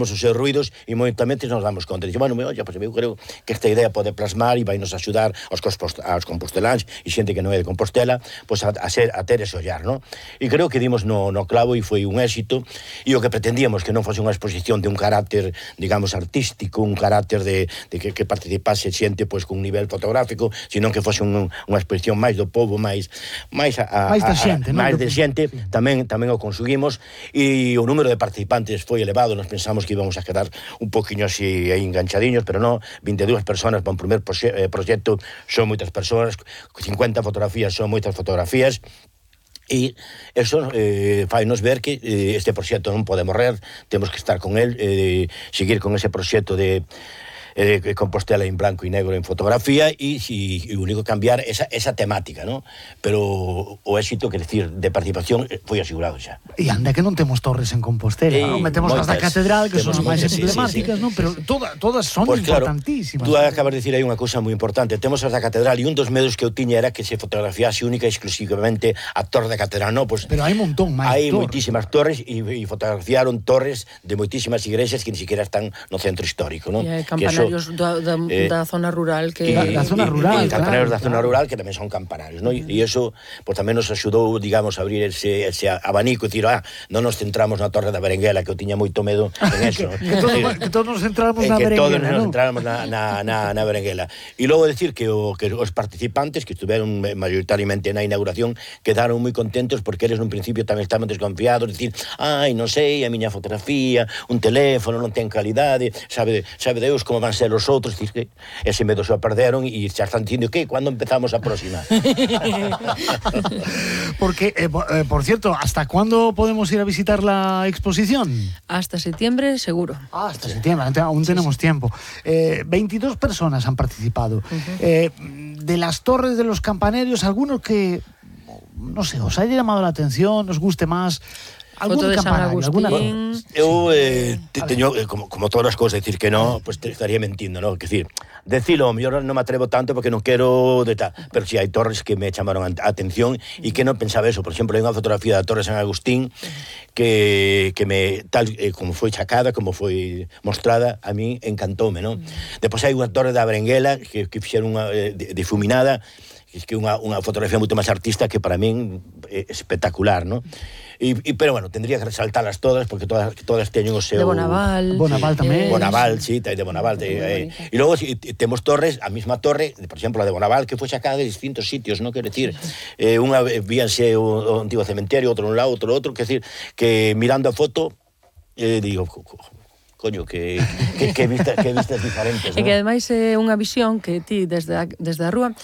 os seus ruidos e momentamente nos damos conta. Dice, bueno, oye, pues eu creo que esta idea pode plasmar e vai nos axudar aos composteláns e xente que non é de Compostela, pues a ter ese ollar, ¿no? E creo que dimos no clavo e foi un éxito, e o que pretendíamos que non fose unha exposición de un carácter, digamos, artístico, un carácter de que participase xente pues con un nivel fotográfico, sino que fose unha exposición máis do povo, máis da xente, máis de xente, tamén o conseguimos, e o número de participantes foi elevado. Nos pensamos que íbamos a quedar un poquinho así aí enganchadiños, pero non, 22 personas para un primer proxecto son moitas persoas, 50 fotografías son moitas fotografías, e eso fainos ver que este proxecto non pode morrer, temos que estar con el, seguir con ese proxecto de Compostela en blanco e negro en fotografía e o único cambiar esa temática, ¿no? Pero o éxito, quer decir, de participación foi asegurado xa. E anda que non temos torres en Compostela, non? Metemos as da catedral, que son as máis emblemáticas, non? Pero todas son importantísimas. Tú acabas de dicir aí unha cousa moi importante. Temos as da catedral e un dos medos que eu tiña era que se fotografiase única e exclusivamente a torre da catedral, non? Pues, pero hai un montón máis torres. Hai moitísimas torres e fotografiaron torres de moitísimas igrexas que ni siquiera están no centro histórico, non? E campanarios da zona rural que da zona rural, campanarios da zona rural que tamén son campanarios, non? E iso pues tamén nos axudou, digamos, a abrir ese abanico e dicir, non nos centramos na Torre da Berenguela, que eu tiña moito medo en eso. que todos nos centramos na Berenguela, que todos nos centramos na Berenguela. E logo decir que os participantes que estuveron mayoritariamente na inauguración quedaron moi contentos porque eles nun principio tamén estaban desconfiados, dicir, non sei, a miña fotografía, un teléfono non ten calidade, sabe Deus como van ser os outros, que ese medo xa perderon e xa están dicindo que cando empezamos a próxima. Porque, por cierto, ¿hasta cuándo podemos ir a visitar la exposición? Hasta septiembre, seguro. Hasta septiembre, aún tenemos tiempo. 22 personas han participado. De las torres de los campanarios, algunos que, no sé, os haya llamado la atención, os guste más. Foto de San Agustín. Eu teño, como todas as cousas, decir que non, pues te estaría mentindo, non? Que decir, decilo, mellor non me atrevo tanto porque non quero pero si hai torres que me chamaron a atención e que non pensaba eso. Por exemplo, hai unha fotografía da Torre San Agustín que me, tal como foi chacada, como foi mostrada, a mí encantoume, non? Depois hai unha torre da Berenguela que fixeron unha difuminada, que é unha fotografía moito máis artista que para min é espectacular, non? Pero bueno, tendría que resaltarlas todas porque todas teñen o seu... De Bonaval. Bonaval tamén. Bonaval, sí, de Bonaval. E logo temos torres, a mesma torre, por exemplo, a de Bonaval, que foi sacada de distintos sitios, non? Quero dicir, unha víanse o antigo cementerio, outro un lado, outro, quero dicir, que mirando a foto, digo... coño, que vistas diferentes, E que ademais é unha visión que ti desde a rúa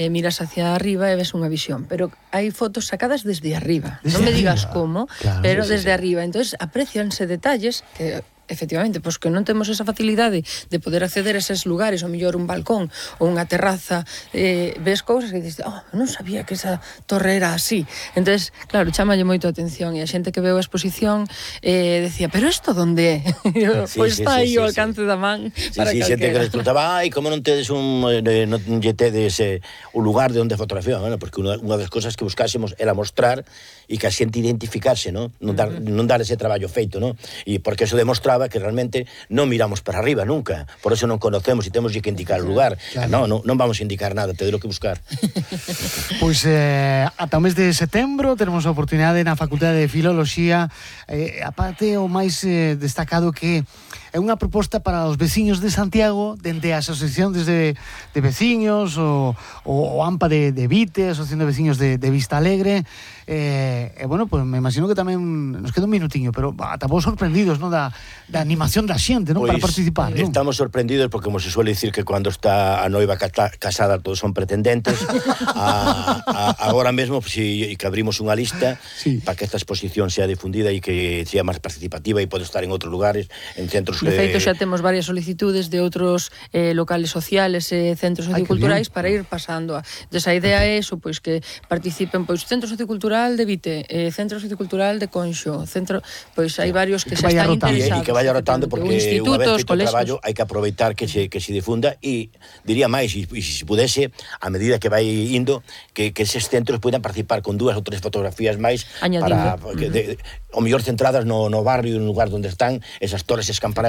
miras hacia arriba e ves unha visión, pero hai fotos sacadas desde arriba. Non me digas como, pero desde arriba. Entonces aprecianse detalles que efectivamente, pois que non temos esa facilidade de poder acceder a eses lugares, ou mellor un balcón ou unha terraza, ves cousas que dices, non sabía que esa torre era así. Entonces, claro, chámalle moito a atención e a xente que veu a exposición decía, pero isto donde é? Pois está aí o alcance da man para calquera. Xente que les preguntaba, como non tedes non lle tedes un lugar de onde fotografía? Bueno, porque unha das cousas que buscásemos era mostrar e que a xente identificase, non dar ese traballo feito, non? E porque eso demostraba que realmente non miramos para arriba nunca, por eso non conocemos e temos que indicar o lugar. Non vamos a indicar nada, te lo que buscar. Pois ata o mes de setembro teremos a oportunidade na Facultade de Filoloxía, aparte o máis destacado que é unha proposta para os veciños de Santiago, dende a Asociación de Veciños, o AMPA de Vite, a Asociación de Veciños de Vista Alegre, bueno, pues me imagino que tamén nos queda un minutiño, pero ata vos sorprendidos, non, da animación da xente, non, para participar, non? Estamos sorprendidos porque, como se suele dicir, que cando está a noiva casada todos son pretendentes. Agora mesmo, que abrimos unha lista para que esta exposición sea difundida e que sea máis participativa e pode estar en outros lugares, en centros De feito, xa temos varias solicitudes de outros locales sociales e centros socioculturais para ir pasando. Entón, a idea é eso, pois que participen pois Centro Sociocultural de Vite, Centro Sociocultural de Conxo, centro, pois hai varios que xa están interesados. E que vaya rotando, porque unha vez feito o traballo hai que aproveitar que se difunda, e diría máis, e se pudese, a medida que vai indo, que eses centros poidan participar con 2 ou 3 fotografías máis para o mellor centradas no barrio, no lugar onde están esas torres, esas campanadas